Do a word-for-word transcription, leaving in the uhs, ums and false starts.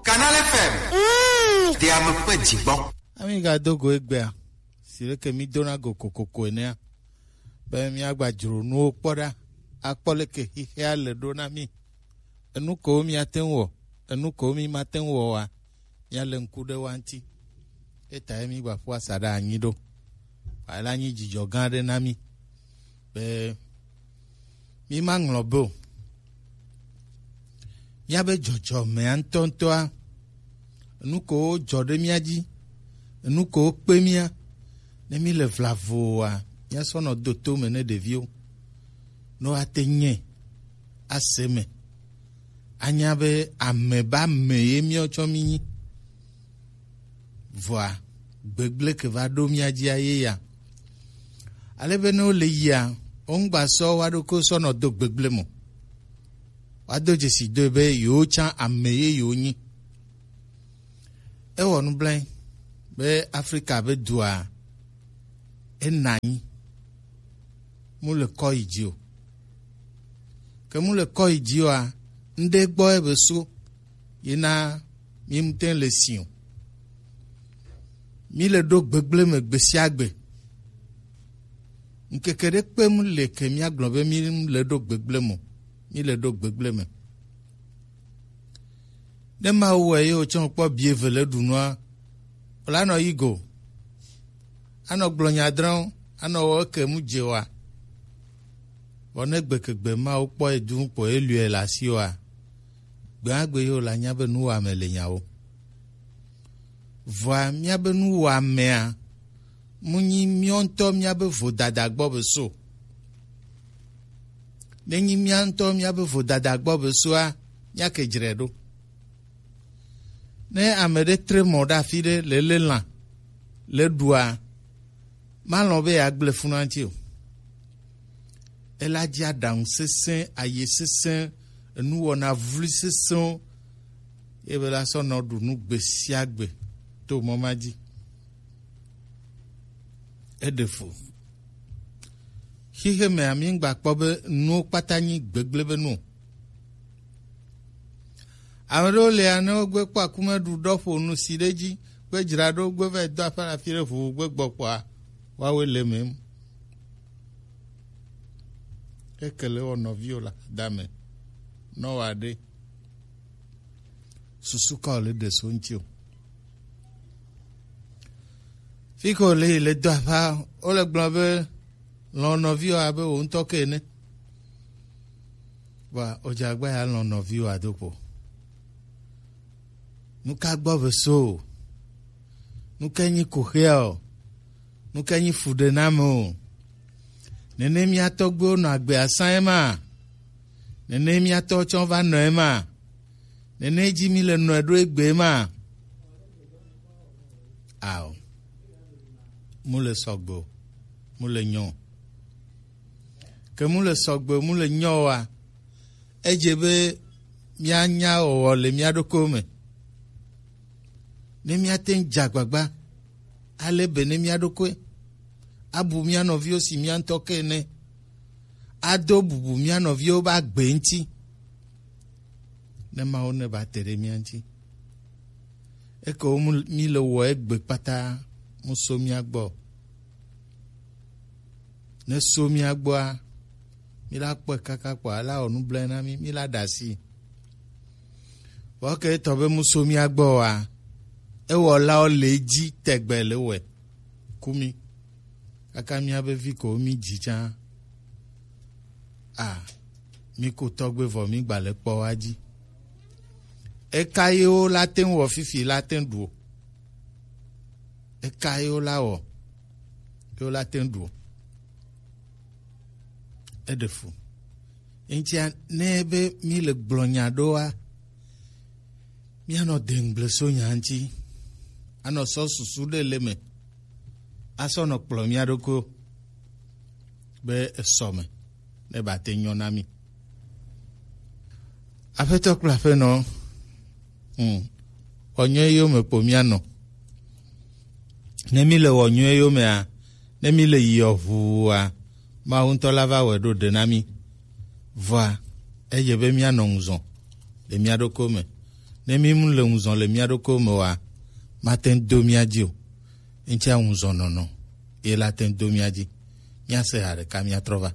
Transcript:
Canal F M. Mm. Te ame ƒe dzigbɔ. Ami ga do go egbea. Si leke mi dona go kokoko enea. Be mi agba dzro nuwo kpɔ ɖa. Akpɔ leke xixea le ɖo na mi. Enu ko mi ate ŋu wɔ, enu ko mi mate ŋu wɔ wa. Míale ŋku ɖe wo ŋuti. Etae mígbaƒu asaɖa anyi ɖo. Wòala nyi dzidzɔ gã aɖe na mí be mímaŋlɔ be o. Míabe dzɔdzɔmea ŋutɔŋutɔa, enu ko wodzɔ ɖe mía dzi, enu ko wokpe mía, ne míle vlavoa, míasɔ nɔ do to me ne ɖeviwo, ne woate nyɛ ase me. Anya be ame be ame ye míawo tsɔ mí nyi. Vɔa, gbegblẽ ke va ɖo mía dzia ye ya. Ale be ne wole yia, woŋgba sɔ woa ɖokuiwo sɔ nɔ do gbegblẽ me o. Woado dzesi doe be yewo tsã ame ye yewo nyi. Ewɔ nublanui be Afrika be dua ena anyi. Mu le kɔ yi dzi o. Ke mu le kɔ yi dzi oa, ŋɖe gbɔ ebe so yina mi ŋute le si o. Mi le ɖo gbegblẽ me gbe sia gbe. Ŋkeke ɖe kpe mu le ke mía gblɔ be mi le ɖo gbegblẽ me o. Mi le ɖo gbegblẽ me. Ne Mawu wɔ ye wòtsɔ kpɔ bi eve le ɖu nua, wòla nɔ yi go. Anɔ gblɔ nya drɔ̃, anɔ wɔ eke mu dze wa. Vɔ ne gbekegbe Mawu kpɔ ye du kpɔ ye lui le asi wa, gbea gbe ye wòla nya be nuwɔame le nyawo. Vɔa míabe nuwɔamea, mu nyi míawo ŋutɔ míabe vodada gbɔ be so. Ne nyi mía ŋutɔ míabe vodada gbɔ be soa, míake dzre ɖo. Ne ame ɖe tre mɔ ɖe afi ɖe le lé lã le ɖua, malɔ̃ be yeagblẽ fu na ŋuti o. Ela dzi aɖaŋu sesẽ, aye sesẽ, enuwɔna vloe sesẽwo, ye be la sɔ nɔ ɖu nu gbe sia gbe to mɔ ma dzi. Eɖe fu. Xixe mea, mi ŋgba kpɔ be nuwo kpata nyi gbegblẽ be nu o. Ame ɖewo lia, ne wogbe kpɔ akume ɖu ɖɔ ƒo nu si ɖe dzi, gbe dzra ɖo, gbe va yi do aƒe le afi ɖe ʋuʋu gbe gbɔ kpɔa, woawoe le eme. Eke le wɔ nɔviwo le dame. Nɔ wa ɖe. Susu ka wòle ɖe so ŋuti o. Fi ke wòle yi le do aƒea, wole gblɔ be lɔ̃ nɔviwò abe wò ŋutɔ ke ene. Vɔa, wòdze agba ya lɔ̃ nɔviwò ado kpo. Nu ka gbɔ be so o? Nu ka nyi koxea o? Nu ka nyi fuɖename o? Nene mía tɔgbuiwo nɔ agbe asã ema? Nene mía tɔwo tsɔ va nɔ ema? Nene dzi mi le nɔe ɖo egbe ma? Ao. Mu le sɔgbe o. Mu le nyɔ o. Ke mu le sɔgbe o, mu le nyɔ oa, edze be míanya wɔwɔ le mía ɖokuiwo me. Ne míate ŋu dze agbagba, alé be ne mía ɖokui, abu mía nɔviwo si mía ŋutɔ ke ene, ado bubu mía nɔviwo be agbe ŋuti. Ne Mawu ne ba te ɖe mía ŋuti. Eke wo mu, mi le wɔ egbe kpata mu so mía gbɔ. Ne so mía gbɔa, mi la kpɔe kaka kpɔ, ala wɔ nublanui na mi, mi la ɖe asi. Vɔ ke etɔ be mu so mía gbɔ wa, ewɔlawo le edzi tɛgbɛ le wɛ ku mi. Kaka míabe vi ko mi dzi tsã. A, mi ko tɔgbe vɔ mi gba le kpɔ wa dzi. Eka ye wo la te ŋu wɔ fifi la te ŋu ɖu o. Eka ye wo la wɔ, ye wo la te ŋu ɖu o. Eɖe fu. Eŋutia, ne be mi le gblɔ nya ɖoa, míanɔ deŋgble so nya ŋuti. Anɔ sɔ susu ɖe le me. Asɔ nɔ kplɔ mía ɖokuiwo be esɔ me ne ba te nyɔ na mi. Aƒetɔ kple aƒenɔ, hmm, wɔ nyɔ yome kpo mía nɔ. Ne mi le wɔ nyɔ yomea, ne mi le yiɔ ʋua, Mawu ŋutɔ la va wɔe ɖo ɖe na mi. Vɔa, edze be mía nɔ ŋuzɔ le mía ɖokuiwo me. Ne mi mu le ŋuzɔn le mia ɖokuiwo me oa, mate ŋu do mia dzi o. Ŋtsia ŋuzɔn nɔnɔ ye la te ŋu do mia dzi. Mia se ha ɖeka mia trɔ va.